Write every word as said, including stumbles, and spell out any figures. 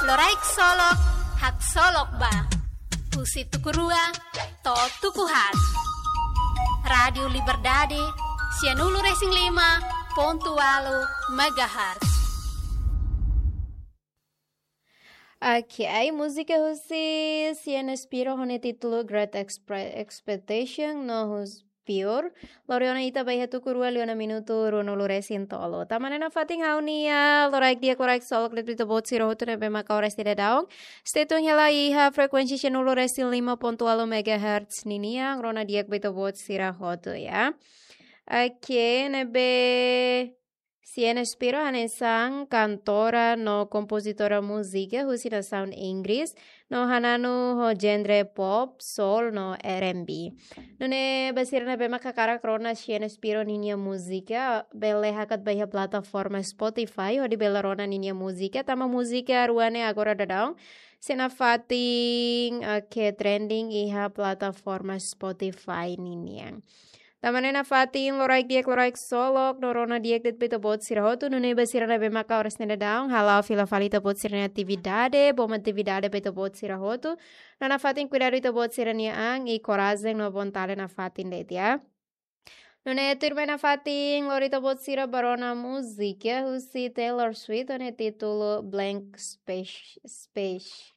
Loraik Solok, haksolok ba. Husi tuku rua to'o tuku haat. Rádiu Liberdade, sianulu-resin-lima pontu ualu megahertz. Ok, múzika husi Sienna Spiro ho nia títulu Great Expre- Expectation no husi Pure. Lori ona ita ba iha tuku rua liu ona minutu ruanulu-resin-tolu. Tanba ne'e nafatin ha'u-nia loraik di'ak, loraik solok de'it ba ita-boot sira hotu ne'ebé maka oras ida daudaun stay tune hela iha frekuénsia sianulu-resin-lima pontu ualu megahertz ninian, rona di'ak ba ita-boot sira hotu, ya. Ok, ne'ebé Sienna Spiro hanesan kantora no kompozitora múzika husi nasaun Inggris, no hananu ho genre pop, soul no R and B. Nune'e ba sira ne'ebé maka hakarak rona Sienna Spiro ninia múzika, bele hakat ba iha plataforma Spotify hodi bele rona ninia múzika, tanba múzika rua ne'e agora daudaun sei nafatin, eh, ke trending iha plataforma Spotify ninian. Tanba ne'e nafatin loraik di'ak, loraik solok no rona di'ak de'it ba ita-boot sira hotu, nune'e ba sira ne'ebé maka oras ne'e daudaun hala'o fila fali ita-boot sira-nia atividade, bom atividade ba ita-boot sira hotu. No nafatin kuidadu ita-boot sira-nia an i korajen no vontade nafatin de'it, ya. Nune'e tuirmai nafatin lori ita-boot sira ba rona múzika husi Taylor Swift ho nia títulu Blank Space. Space.